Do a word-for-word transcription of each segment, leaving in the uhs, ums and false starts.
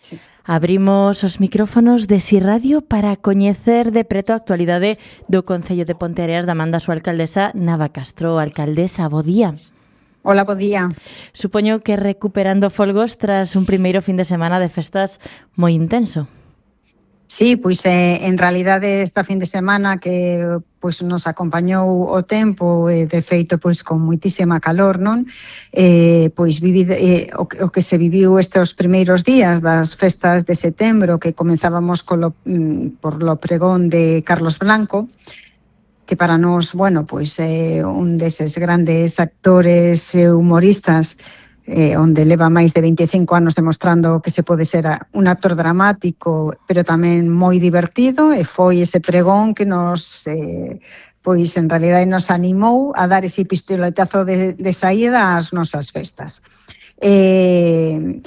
Sí. Abrimos os micrófonos de Si Radio para coñecer de preto a actualidade do Concello de Ponteareas da man da súa alcaldesa Nava Castro. Alcaldesa, bo día. Hola, bo día. Supoño que recuperando folgos tras un primeiro fin de semana de festas moi intenso. Sí, pois eh, en realidade esta fin de semana que pois nos acompañou o tempo e de feito pois con moitísima calor, non? Eh, pois vivi, eh, o, que, o que se viviu estes primeiros días das festas de setembro, que comenzábamos colo, mm, por lo pregón de Carlos Blanco, que para nós, bueno, pois é eh, un deses grandes actores e humoristas eh, onde leva máis de veinticinco anos demostrando que se pode ser un actor dramático, pero tamén moi divertido, e foi ese pregón que nos, eh, pois en realidade nos animou a dar ese pistoletazo de, de saída ás nosas festas. Eh,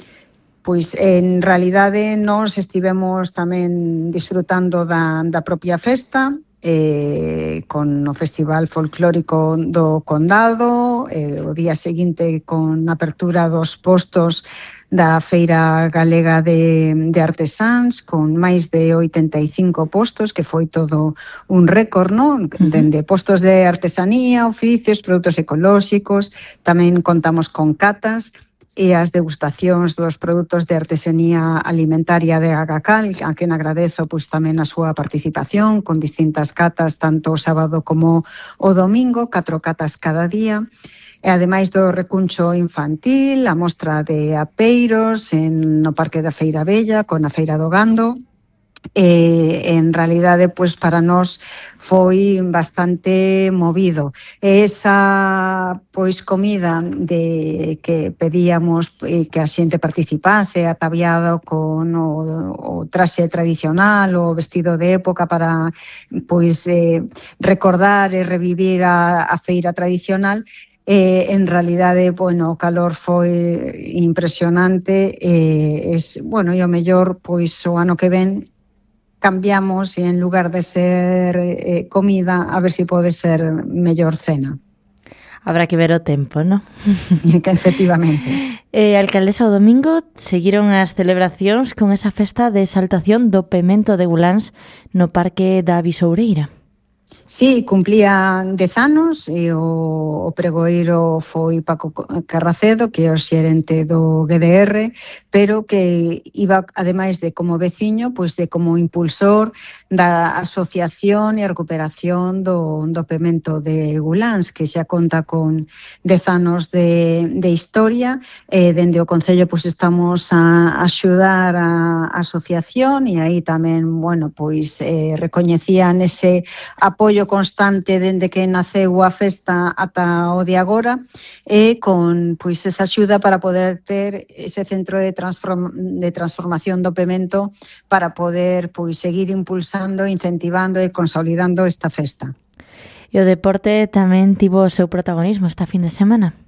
pois en realidade nós estivemos tamén disfrutando da, da propia festa, Eh, con o Festival Folclórico do Condado, eh, o día seguinte con a apertura dos postos da Feira Galega de, de Artesáns, con máis de oitenta e cinco postos, que foi todo un récord, non? Dende postos de artesanía, oficios, produtos ecolóxicos, tamén contamos con catas e as degustacións dos produtos de artesanía alimentaria de Agacal, a quen agradezo pois tamén a súa participación con distintas catas, tanto o sábado como o domingo, catro catas cada día. E ademais do recuncho infantil, a mostra de apeiros en, no Parque da Feira Bella, con a Feira do Gando. Eh, en realidade, pois para nós foi bastante movido. Esa pois comida de que pedíamos eh, que a xente participase ataviado con o, o traxe tradicional, o vestido de época para pois eh, recordar e revivir a, a feira tradicional. Eh, en realidade, bueno, o calor foi impresionante e, eh, es, bueno, e o mellor, pois o ano que ven cambiamos e en lugar de ser eh, comida, a ver se si pode ser mellor cena. Habrá que ver o tempo, non? Que efectivamente. Eh, alcaldesa, o domingo seguiron as celebracións con esa festa de exaltación do pemento de Guláns no Parque da Bisoureira. Sí, cumplía dez anos e o, o pregoeiro foi Paco Carracedo, que é o xerente do G D R, pero que iba, ademais de como veciño, pois de como impulsor da asociación e a recuperación do, do pemento de Guláns, que xa conta con dez anos de, de historia. Eh, dende o Concello pois estamos a axudar a, a asociación e aí tamén, bueno, pois eh, recoñecían ese apoio constante dende que naceu a festa ata o de agora, e con pois esa axuda para poder ter ese centro de, transform, de transformación do pemento para poder pois seguir impulsando, incentivando e consolidando esta festa. E o deporte tamén tivo o seu protagonismo esta fin de semana?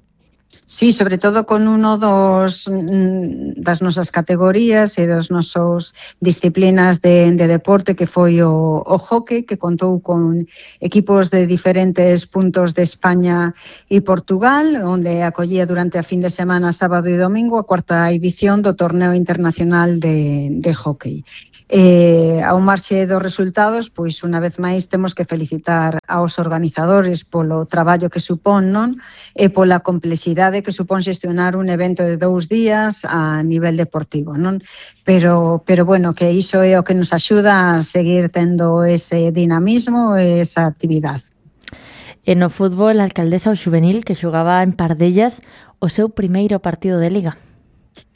Sí, sobre todo con uno dos das nosas categorías e das nosas disciplinas de, de deporte, que foi o, o hockey, que contou con equipos de diferentes puntos de España e Portugal, onde acollía durante a fin de semana, sábado e domingo, a cuarta edición do Torneo Internacional de, de Hockey. Eh, ao marxe dos resultados, pois unha vez máis temos que felicitar aos organizadores polo traballo que supón, non? E pola complexidade que supón xestionar un evento de dous días a nivel deportivo, non? Pero, pero bueno, que iso é o que nos axuda a seguir tendo ese dinamismo e esa actividade. E no fútbol, a alcaldesa o xuvenil que xogaba en Pardellas o seu primeiro partido de Liga.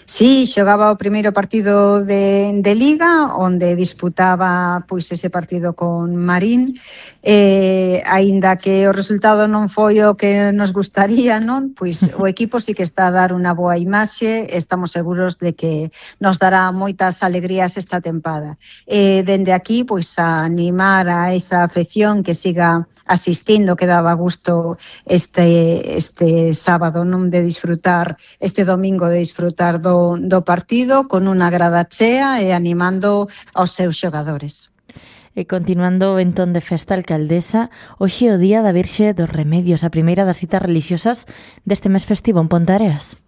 Sí, xogaba o primeiro partido de, de Liga, onde disputaba pois ese partido con Marín, eh, aínda que o resultado non foi o que nos gustaría, non? Pois o equipo sí que está a dar unha boa imaxe, estamos seguros de que nos dará moitas alegrías esta tempada. Eh, dende aquí, pois a animar a esa afección que siga asistindo, que daba gusto este este sábado, non, de disfrutar, este domingo de disfrutar do, do partido con unha grada chea e animando aos seus xogadores. E continuando o entón de festa, alcaldesa, hoxe é o Día da Virxe dos Remedios, a primeira das citas religiosas deste mes festivo en Ponteareas.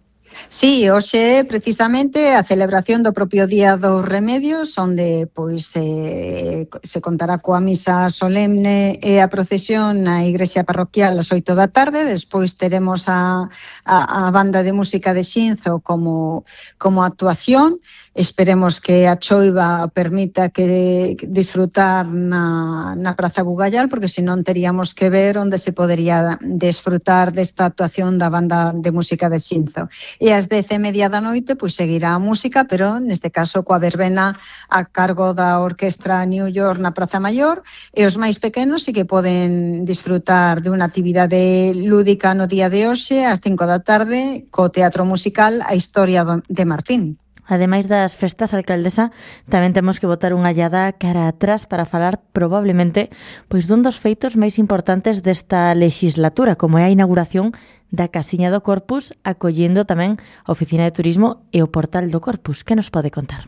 Sí, hoxe precisamente a celebración do propio Día dos Remedios, onde pois eh, se contará coa misa solemne e a procesión na igrexa parroquial ás oito da tarde. Despois teremos a, a, a banda de música de Xinzo como, como actuación. Esperemos que a choiva permita que disfrutar na, na Praza Bugallal, porque senón teríamos que ver onde se podería desfrutar desta actuación da banda de música de Xinzo. E ás dez e media da noite pois seguirá a música, pero neste caso coa verbena a cargo da Orquestra New York na Praza Maior, e os máis pequenos sí que poden disfrutar de unha actividade lúdica no día de hoxe ás cinco da tarde co teatro musical A Historia de Martín. Ademais das festas, alcaldesa, tamén temos que botar unha allada cara atrás para falar probablemente pois dun dos feitos máis importantes desta legislatura, como é a inauguración da Casiña do Corpus, acollendo tamén a Oficina de Turismo e o Portal do Corpus. Que nos pode contar?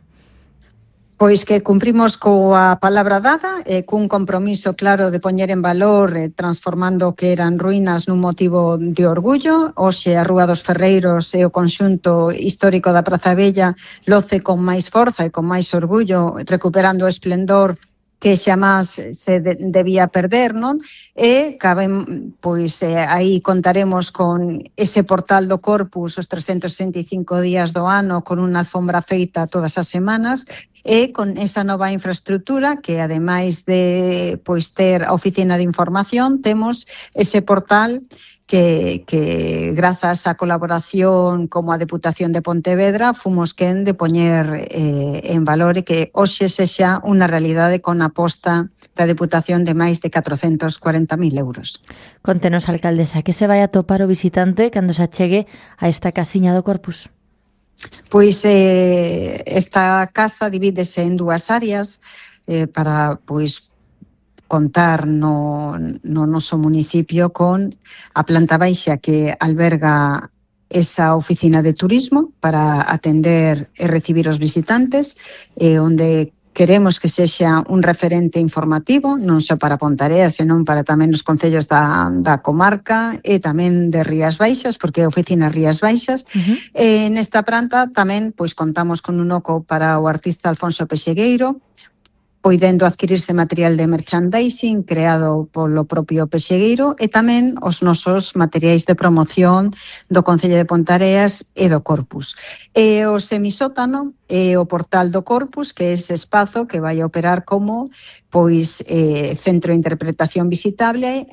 Pois que cumprimos coa palabra dada e cun compromiso claro de poñer en valor eh, transformando o que eran ruínas nun motivo de orgullo. Hoxe a Rúa dos Ferreiros e o conxunto histórico da Praza Bella loce con máis forza e con máis orgullo, recuperando o esplendor que xamás se de, debía perder, non? E cabe, pois eh, aí contaremos con ese portal do Corpus os trescentos sesenta e cinco días do ano, con unha alfombra feita todas as semanas, e con esa nova infraestructura que, ademais de pois ter a oficina de información, temos ese portal que, que grazas á colaboración como a Deputación de Pontevedra fomos quen de poñer eh, en valor e que hoxe sexa unha realidade con a aposta da Deputación de máis de catrocentos cuarenta mil euros. Contenos, alcaldesa, que se vai a topar o visitante cando se achegue a esta Casiña do Corpus? Pois eh, esta casa divídese en dúas áreas eh, para pois contar no, no noso municipio con a planta baixa que alberga esa oficina de turismo para atender e recibir os visitantes, eh, onde queremos que sexa un referente informativo, non só para Ponteareas, senón para tamén os concellos da, da comarca e tamén de Rías Baixas, porque é a oficina Rías Baixas. Uh-huh. E nesta planta tamén pois contamos con un oco para o artista Alfonso Pexegueiro, poidendo adquirirse material de merchandising creado polo propio Pexegueiro e tamén os nosos materiais de promoción do Concello de Ponteareas e do Corpus. E o semisótano é o portal do Corpus, que é ese espazo que vai operar como pois eh, centro de interpretación visitable